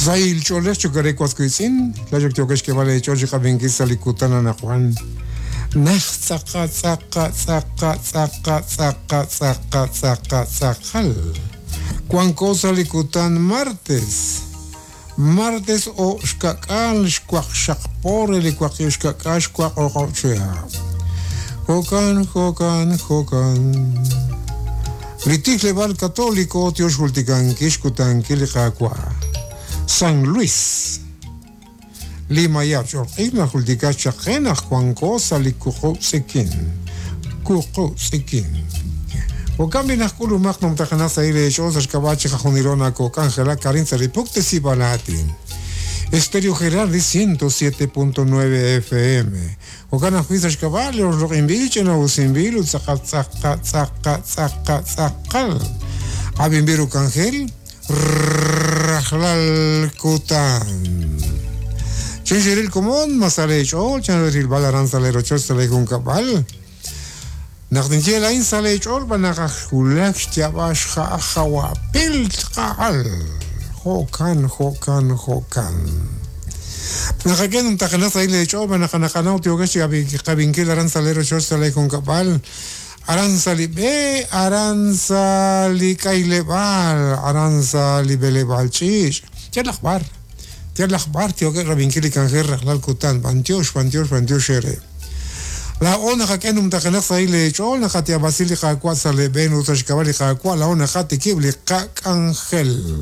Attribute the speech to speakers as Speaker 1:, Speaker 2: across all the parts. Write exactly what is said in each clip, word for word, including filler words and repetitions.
Speaker 1: Sahil ch'oolej chukare waskuitzin, tlayok tiokex kebale ch'ool chiqabinkil sa li kutan anaqwan. Naj tz'aqa tz'aqa tz'aqa tz'aqa tz'aqa tz'aqa tz'aqa tz'aqal. Wanko sa li kutan martes. Martes o xkak'al xwaq xaqpore li waqi xkak'al xwaq oqo'chea. Jokan, jokan, jokan. Li tijleb'aal católico tiox jultikankil xkutankil li Qaawa'. San Luis. Lima yab ch'olq'ij najultika chaqen aj wanko sa li kuqub' tz'ikin. Kuqub' tz'ikin. Jokan binajk'ulumaq numtajanaq sa ile ch'ool sa xk'ab'a' chiqajunilo nakok'anjelak karin sa li puktesib'al aatin. Estéreo Gerardi ciento siete punto nueve F M. Jokan ajwi' sa xk'ab'a' li oxloq'inb'il ch'ina'usinb'il ut tz'aqa tz'aqa tz'aqa tz'aqa tz'aqal. Ab'inb'il uk'anjel rajlal kutan. Chinxiril komon masale ch'ool chanril balaran salero ch'ool sale junkab'al. Naq ninye lain sale ch'ool banaq ajulak xyab'ax ja'ajawapil tqa'al. Jo'kan, jo'kan, jo'kan. Naqaken umtaqanaq sa ile ch'ool banaq naqanaw tiokex qabinkil aran salero ch'ool sale junkab'al. Aran salib'e, aran salikaileb'al, aran salib'eleb'al ch'ix. Yalaj bar. Yalaj bar tioke rabinkil ikanjer rajlal kutan. Bantiox, bantiox, bantiox ere. La ona jaqen umtaqanaq sa ile ch'ool naqatiabasil li qaawa' saleb'en ut sa xk'ab'a' li qaawa' la ona jatikib' li qak'anjel.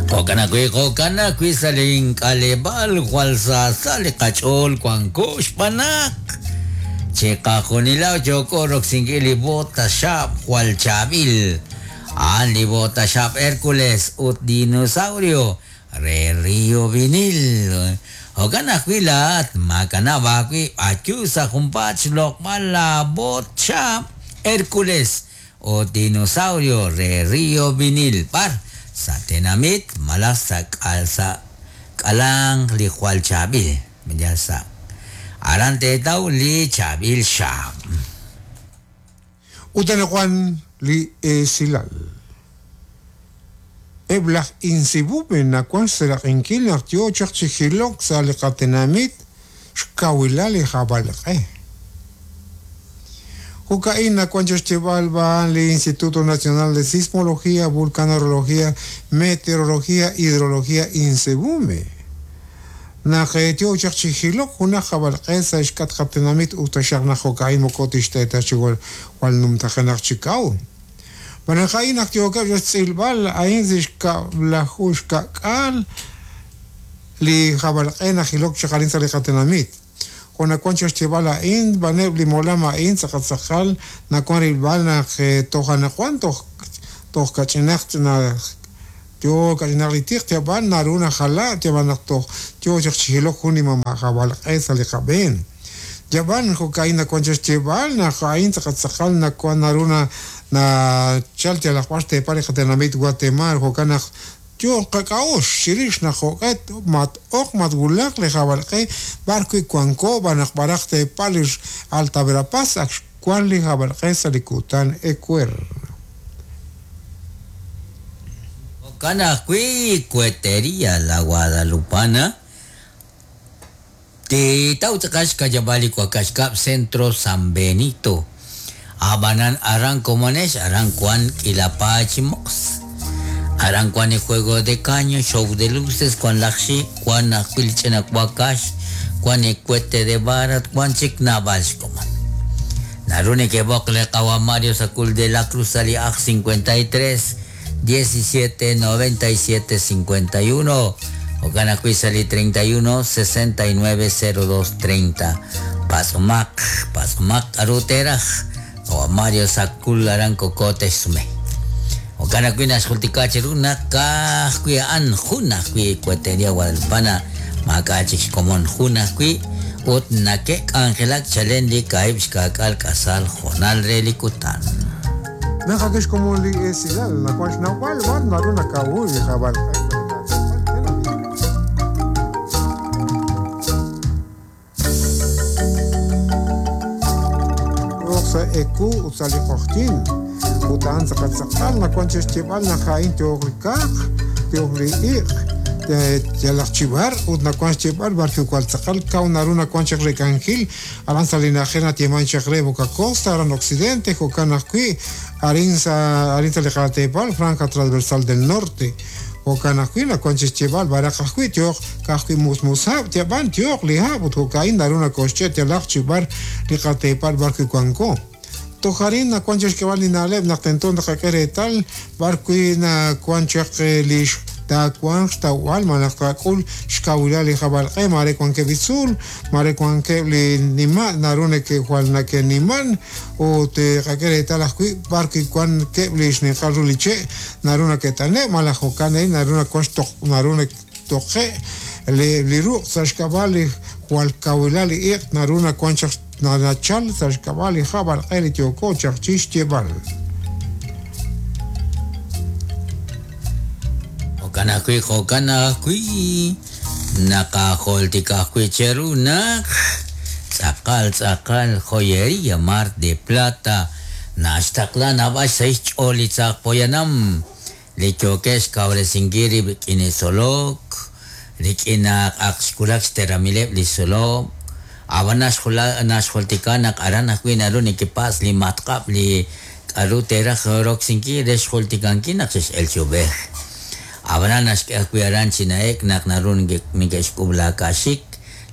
Speaker 2: Jo'kan ajwi', jo'kan ajwi' sa li ink'aleb'aal jwal sa sa li qach'ool wanko xb'anaq. Chiqajunilo yoko roksinkil li bota xaab' jwal chaab'il. A'an li bota xaab' Hércules ut dinosaurio re Río Vinil. Jo'kan ajwi' laat makanab' ajwi' ayu sa junpaat xloq'b'al la bot xaab' Hércules ut dinosaurio re Río Vinil. Bar sa tenamit malaj sa k'al sa k'alang li jwal chaab'il. Ya sa aran teetaw li chaab'il xaab'.
Speaker 1: Ut anaqwan li esilal. Eb' laj insibube nawan xseraq'inkil naq yo chaq chi jilok sa li qatenamit xkawilal li jab'alq'e. Jo'ka'in nawan chixcheb'al b'an li Instituto Nacional de Sismología, Vulcanología, Meteorología, Hidrología, Insebume. Naq yo chaq chi jilok junaj jab'alq'e sa xk'at qatenamit ut taxaq naq jo'ka'in moko tixteeta chi jwal jwal numtajenaq chi kaw. Banaqa'in naq yookeb' xtz'ilb'al a'in xkab'laju xka'k'aal li jab'alq'e najilok chaq arin sa li qatenamit. Jonakuan chixcheb'al a'in b'aneb' li molam a'in tz'aqatz'aqal nakuan rilb'al naq tojanakuan toj toj kach'inaq na yo kach'inaq li tiq yab'al naru najala yab'al naq toj yo chaq chijilok jun li mama jab'alq'e sa li qab'een. Yab'al jo'ka'in nakuan chixcheb'al naq a'in tz'aqatz'aqal nakuan naru na na chal yalaq b'ar xteepal li qatenamit Guatemala jo'kan naq yo qak'a'ux xirix naq jo'q'et mat oq mat wulaq li jab'alq'e b'ar wi' wanko b'anaq b'araq teepal li Alta Verapaz ak xwan li jab'alq'e sa li kutan ecuer.
Speaker 2: Jo'kan ajwi' Cuetería La Guadalupana. Titaw tz'aqal xkayab'al li Cuacaxcab' Centro San Benito. Abanan aran komonex aran kuan k'ilapach mox. Aran kuan el juego de caño, show de luces, kuan laxi, kuan ajwil ch'ina kuakax, kuan el cohete de barat, kuan chik nabalx koman. Naruni que bocle qawa Mario Sacul de la Cruz ali aj cincuenta y tres, diecisiete, noventa y siete, cincuenta y uno. Jo'kan ajwi' sali treinta y uno, sesenta y nueve, cero dos, treinta. Pasomak, pasomak aruteraj. O Mario Sacul aran kokote sume. Jo'kan ajwi' naxjultika chiru naq ka'ajwi' a'an jun ajwi' Cuetería Guadalupana maak'a' chik xkomon jun ajwi' ut nake'k'anjelak chalen li kaahib' xka'k'aal k'asal jonal re li kutan.
Speaker 1: Naqakex komon li esilal nakuan xnawb'al b'ar naru nakawuy li jab'alq'e. Sa eku ut sa li q'oqtin. Ut a'an tz'aqal nawan chi xyeeb'al naq a'in yooq li kaaq, yooq li iq', yalaq chi b'ar ut nawan xyeeb'al b'ar kiwal tz'aqal kaw naru nawan chaq rekankil aran sa' li na'ajej natieman chaq re Boca Costa, aran Occidente, jo'kan ajwi' arin sa' arin sa' li qateepal Franja Transversal del Norte. Jo'kan ajwi' nawan chi xyeeb'al b'araq ajwi' yooq ka'ajwi' musmushab' yab'an yooq li hab' ut jo'ka'in naru nakoxche' yalaq chi b'ar li qateepal b'ar kiwanko. Toj arin nawan chi xk'eb'al li na'leb' naq tento naqak'e reetal b'ar wi' nawan chaq li taawanq xtawb'al malaj taak'ul xkawilal li jab'alq'e mare wankeb' li tzuul, mare wankeb' li nima' naru neke'jwal nake'niman ut qak'e reetal ajwi' b'ar wi' wankeb' li xninqal ru li che' naru nake't'ane' malaj jo'kan naru nawan xtoq naru naktoqe' li li ruq' sa' xk'ab'a' li jwal kawilal li iq' naru nawan chaq nachal sa' xk'ab'a' li jab'alq'e li yooko chaq chi xyeeb'al.
Speaker 2: Jo'kan ajwi' jo'kan ajwi' naqajoltik ajwi' cheru naq tz'aqal tz'aqal joyería Mar de Plata naxtaqla naab'al sa' xch'ool li tzaq poyanam li yookeb' xkawresinkil rib' rik'in li tzolok rik'in naq ak xwulak xteramileb' li tzolok ab'an naxjoltika naq aran ajwi' naru neke'pas li matq'ab' li k'aru teeraj roksinkil re xjoltikankil naq xe'x'el chi ub'ej. Ab'anan naxk'e ajwi' aran chi na'ek naq naru neke'xk'ub' laaka'xik,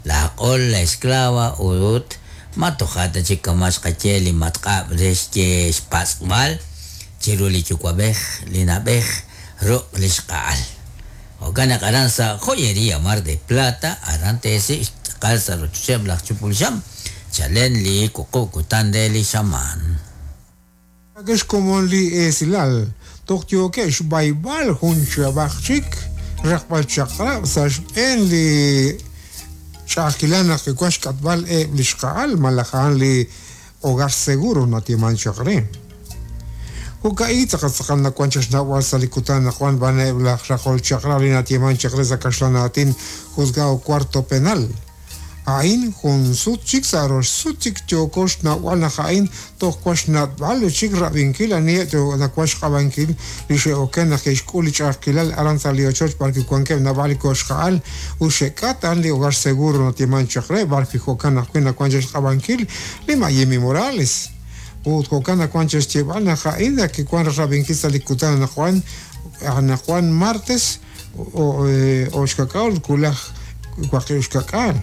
Speaker 2: laaq'ol, la esclava ut ma toja' ta chik kama' xqaye li matq'ab' re xye xpatz'b'al chiru li yuwa'b'ej, li na'b'ej, ruq' li xq'a'al. Jo'kan naq aran sa' Joyería Mar de Plata aran teesik' xtz'aqal sa' rochocheb' laj Chupulxam chalen li wuqub' kutan re li xamaan.
Speaker 1: Akex komon li esilal toj yookeb' xb'ayb'al jun chab'aj chik raqb'al chaq'rab' sa' xb'een li ch'a'ajkilal naq kiwan xk'atb'al eb' li xqa'al malaj a'an li hogar seguro natieman chaq re. Jo'ka'i tz'aqal tz'aqal nawan chaq xnawb'al sa' li kutan naq wan b'an eb' laj raqol chaq'rab' li natieman chaq re sa' kaxlan aatin juzgado cuarto penal. A'in jun sut chik sa' rox sut chik yooko xnawb'al naq a'in toj wan xnatb'al chik rab'inkil aniheb' nawan xq'ab'ankil li xe'oken naq ke'xk'ul li ch'a'ajkilal aran sa' li ochoch b'ar kiwankeb' naab'al li koxqa'al ut xe'k'at a'an li hogar seguro natieman chaq re b'ar wi' jo'kan ajwi' nawan chaq xq'ab'ankil li Mayimi Morales. Ut jo'kan nawan chaq xyeeb'al naq a'in kiwan rab'inkil sa' li kutan naq wan naq wan martes o xkak'al kulaj waqib' xkak'al.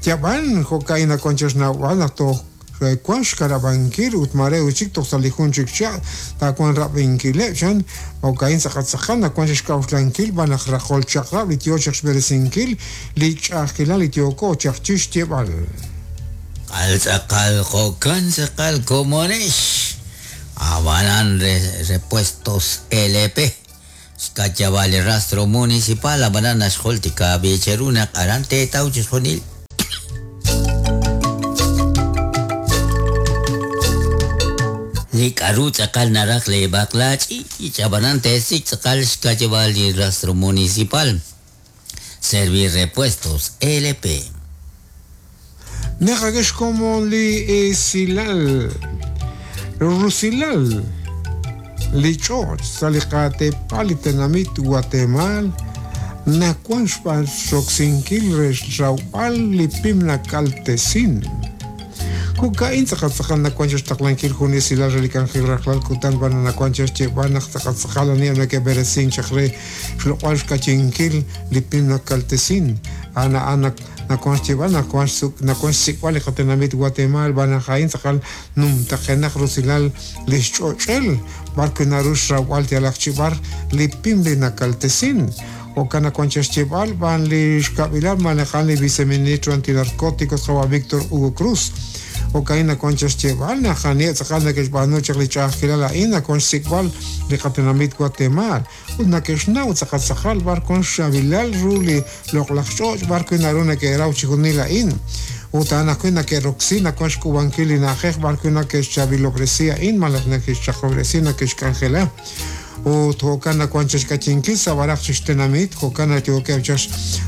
Speaker 1: Yab'an jo'ka'in nawan chaq xnawb'al naq toj wan xkarab'ankil ut mare uchik toj sa' li jun chik cha' taawan rab'inkileb' chan jo'ka'in tz'aqal tz'aqal nawan chaq xk'a'uxlankil b'an naq raqol chaq'rab' li yoo chaq xb'eresinkil li ch'a'ajkilal li yooko chaq chi xyeeb'al.
Speaker 2: Qal tz'aqal jo'kan tz'aqal komonex ab'anan repuestos L P xk'atxab'al li rastro municipal ab'anan naxjoltika b'icheru naq aran teetaw chi xjunil. Li k'aru tz'aqal naraj li b'aqlach'i ab'anan teesik tz'aqal xk'atxab'al li rastro municipal Servir Repuestos L P.
Speaker 1: Naqakex komon li esilal rusilal li ch'och' sa' li qateepal li tenamit Guatemala nawan xb'aan xroksinkil re xrawb'al li pim nakaltesin. Jo'ka'in tz'aqal tz'aqal nawan chaq xtaqlankil jun esilal re li k'anjel rajlal kutan b'an nawan chaq xyeeb'al naq tz'aqal tz'aqal aniheb' nake'b'eresin chaq re xloq'b'al xk'achinkil li pim nakaltesin. A'an a'an nawan xyeeb'al nawan nawan xsik'b'al li qatenamit Guatemala b'an a'in tz'aqal numtaqenaq rusilal li xch'och'el b'ar wi' naru xrawb'al yalaq chi b'ar li pim li nakaltesin. Jo'kan nawan chaq xyeeb'al b'an li xkab'ilal malaj a'an li viceministro antinarcóticos qawa' Víctor Hugo Cruz. Jo'ka'in nawan chaq xyeeb'al naq aniheb' tz'aqal nake'xb'aanu chaq li ch'a'ajkilal a'in nawan xsik'b'al li qatenamit Guatemala ut nake'xnaw tz'aqal tz'aqal b'ar wan xxabilal ru li loq'laj ch'och' b'ar wi' naru nake'raw chi junil a'in. Ut a'an ajwi' nake'roksi nawan xk'ub'ankil li na'ajej b'ar wi' nake'xchabilob'resi a'in malaj nake'xchaqob'resi nake'xk'anjela. Ut jo'kan nawan chixk'ayinkil sa' b'araq chixtenamit jo'kan nayookeb' chaq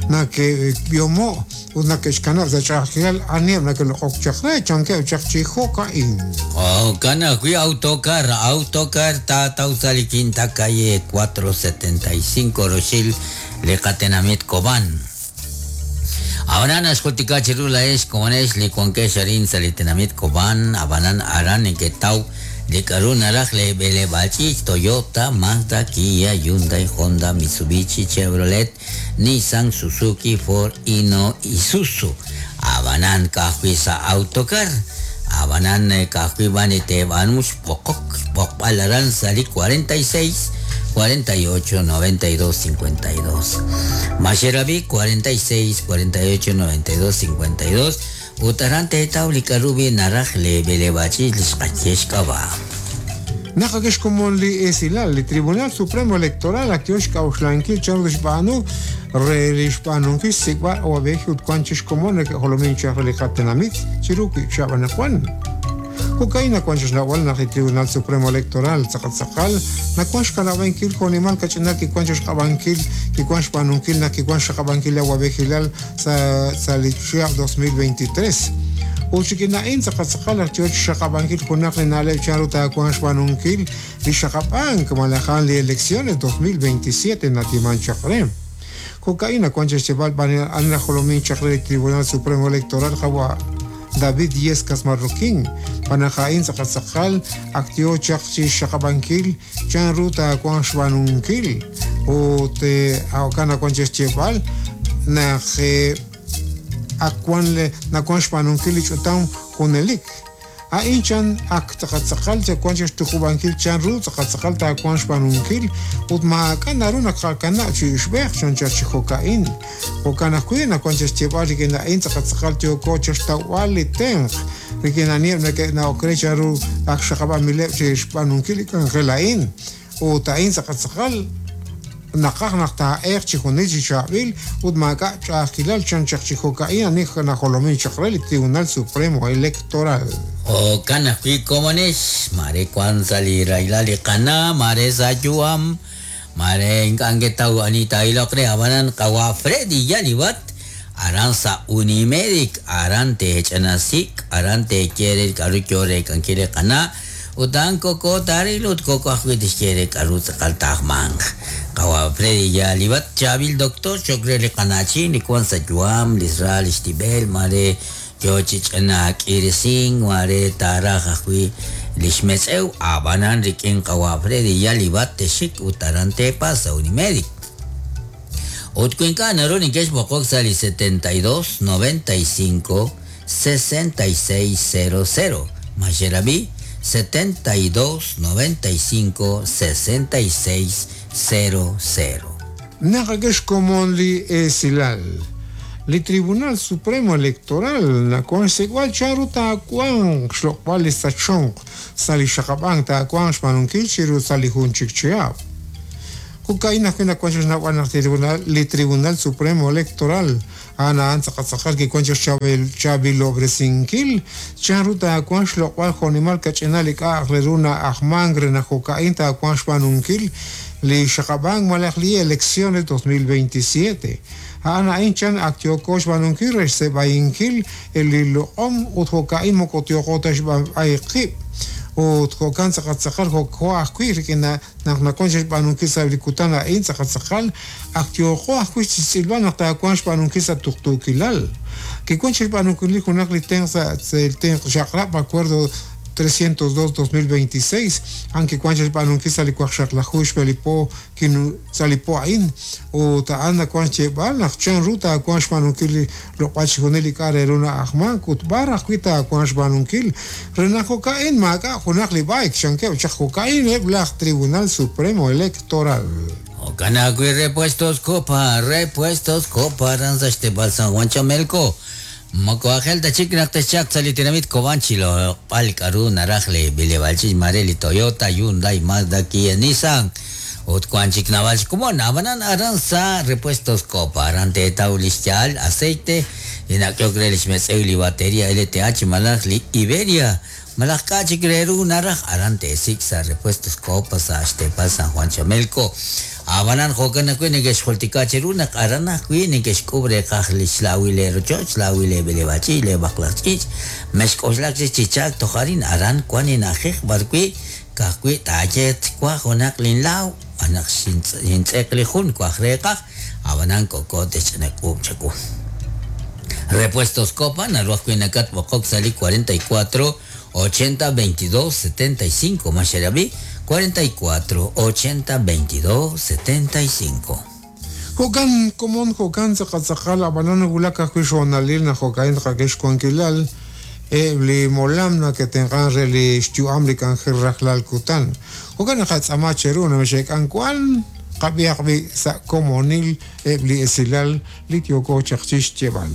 Speaker 1: nake'b'iomo' ut nake'xkanab' sa' ch'a'ajkilal aniheb' nake'loq'ok chaq re chankeb' chaq chi jo'ka'in.
Speaker 2: Jo'kan ajwi' autocar, autocar taataw sa' li quinta calle cuatro setenta y cinco roxil li qatenamit Cobán. Abanan axjultika chiru laex komonex li wankex arin sa' li tenamit Cobán, abanan aran neketaw li k'aru naraj le b'eleb'ach'ich Toyota, Mazda, Kia, Hyundai, Honda, Mitsubishi, Chevrolet, Nissan, Suzuki, Ford, Hino, Isuzu. Abanan ka'ajwi' sa' autocar. Abanan ka'ajwi' b'an teeb'aanu xb'oqok, xb'oqb'al aran sa' li cuarenta y seis, cuarenta y ocho, noventa y dos, cincuenta y dos. Maxerabi cuarenta y seis, cuarenta y ocho, noventa y dos, cincuenta y dos. Utaran teetaw li k'aru bi naraj le b'eleb'ach'ich li xqaye xk'ab'a'.
Speaker 1: Naqakex komon li esilal, li Tribunal Supremo Electoral ak yo xk'a'uxlankil chan ru xb'aanu re li xb'aanunkil xsik'b'al awab'ej ut wan chixkomon neke'jolomin chaq re li qatenamit chiru wi' xab'anaqwan. Jo'ka'in nawan chixnawal naq li Tribunal Supremo Electoral tzaqatzaqal nawan xkanab'ankil jonimal kach'inal kiwan chixq'ab'ankil kiwan xb'aanunkil naq kiwan xaqab'ankil awab'ejilal sa' sa' li chihab' dos mil veintitrés. Ut chikina'in tzaqatzaqal ak yo xaqab'ankil junaq li na'leb' chan ru taawan xb'aanunkil li xaqab'ank malajan li elecciones dos mil veintisiete natiman chaq re. Jo'ka'in nawan chixcheb'al b'an an najolomin chaq re li Tribunal Supremo Electoral qawa David Yescas Marroquín, panajain tzaqatzaqal ak yo chaq chi xaqab'ankil chan ru taawan xb'aanunkil ut jo'kan nawan chixcheb'al naq akwan le nawan xb'aanunkil li ch'utam junelik. A'in chan ak tzaqatzaqal chawan chixtuqub'ankil chan ru tzaqatzaqal taawan xb'aanunkil ut maak'a' naru naqakana' chi ixb'ej chan chaq chi jo'ka'in. Jo'kan ajwi' nawan chixcheb'al rik'in a'in tzaqatzaqal yooko chixtawb'al li tenq rik'in aniheb' neke'na'ok re chan ru ak xaqab'amileb' chi xb'aanunkil li k'anjel a'in. Ut a'in tzaqatzaqal naqaj naq taa'eeq chi junil chi chaab'il ut maak'a' ch'a'ajkilal chan chaq chi jo'ka'in ani najolomin chaq re li Tribunal Supremo Electoral.
Speaker 2: Jo'kan ajwi' komonex, mare wan sa' li rahilal li qana, mare sa' yu'am, mare ink'a' nketaw ani taa'iloq re, ab'anan qawa Freddy Yalibat, aran sa' Unimedic, aran teech'anasik, aran teekere li k'aru yo re k'ankil li qana, ut a'an koko taaril ut koko ajwi' tixye re k'aru tz'aqal taajmanq. Qawa Freddy Yalibat, chaab'il doctor, cho'q re li qana'chin, li wan sa' yu'am, li sra, li xtib'el, mare yo chi ch'ina k'irisink, mare taaraj ajwi' li xmetz'ew, ab'anan rik'in qawa Freddy Yalibat texik ut aran teepa sa' Unimedic. Ut wi ink'a' naru neke'xb'oqok sa' li setenta y dos, noventa y cinco, sesenta y seis, cero cero. Maxerabi, setenta y dos, noventa y cinco, sesenta y seis, cero cero.
Speaker 1: Naqakex komon li esilal. Li Tribunal Supremo Electoral nakuan xsik'b'al chan ru taawanq xloq'b'al li sachonq sa' li xaqab'ank taawanq xb'aanunkil chiru sa' li jun chik chihab'. Jo'ka'in ajwi' nakuan xnawb'al naq tribunal, li Tribunal Supremo Electoral a'an a'an tzaqatzaqal kiwan chaq xchaab'il, chaab'ilob'resinkil chan ru taawanq xloq'b'al jonimal kach'inal li k'a'aq re ru na'ajmank re naq jo'ka'in taawanq xb'aanunkil li xaqab'ank malaj li elecciones dos mil veintisiete. A'an a'in chan ak yooko xb'aanunkil re xseeb'ayinkil li loq'om ut jo'ka'in moko tyooko ta xb'ayqib'. Ut jo'kan tzaqatzaqal jo'ko ajwi' rik'in naq nawan xb'aanunkil sa' li kutan a'in tzaqatzaqal ak yooko ajwi' xtz'ilb'al naq taawanq xb'aanunkil sa' tuqtuukilal. Kiwan xb'aanunkil li junaq li tenq sa' tenq xaqrab' acuerdo trescientos dos dos mil veintiséis, aunque wan xb'aanunkil sa' li waqxaqlaju xb'elipo kinu sa' li po a'in ut a'an nawan xyeeb'al naq chan ru taawanq xb'aanunkil li loq'b'al chixjunil li k'a' re ru na'ajmank ut b'ar ajwi' taawanq xb'aanunkil re naq jo'ka'in maak'a' junaq li b'ayk chankeb' chaq jo'ka'in eb' laj Tribunal Supremo Electoral.
Speaker 2: Jo'kan ajwi' Repuestos Copa, Repuestos Copa aran sa' xteb'al San Juan Chamelco. Moko ajel ta chik naq texchaq sa' li tenamit Cobán chilo b'al k'aru naraj li b'eleb'aal ch'ich mare li Toyota, Hyundai, Mazda, Kia, Nissan ut wan chik nab'al xkomon ab'anan aran sa' Repuestos Copa aran teetaw li xyaal aceite li nak'ehok re li xmetz'ew li bateria L T H malaj li Iberia Malaj k'a chik re ru naraj aran te'sik' sa' Repuestos Copa sa' xteepal San Juan Chamelco. Abanan jo'kan ajwi' neke'xjultika cheru naq aran ajwi' neke'xk'ub' reeqaj li xlawil le rochoch, xlawil le b'eleb'aal ch'iich', le b'aqlaq ch'iich'. Mexk'oxlak chik chi chaak toj arin aran wan li na'ajej b'arwi' ka'ajwi' taaye twaj junaq linlaaw anaq xintz'eq li jun waj reeqaj abanan koko te'xch'inak'uub' chawu. Repuestos Copa naru ajwi' nakatb'oqok sa' li cuarenta y cuatro ochenta veintidós setenta y cinco Maxerabi cuarenta y cuatro ochenta veintidós setenta y cinco.
Speaker 1: Jo'kan komon jo'kan tz'aqal ab'anan wulak ajwi' xhoonalil naq jo'ka'in tqak'e xwankilal eb' li molam nake'tenq'an re li xyu'am li k'anjel rajlal kutan. Jo'kan naq qatz'ama cheru namexe'k'an wan qab'ihaq b'i' sa' komonil eb' li esilal li yooko chaq chi xyeeb'al.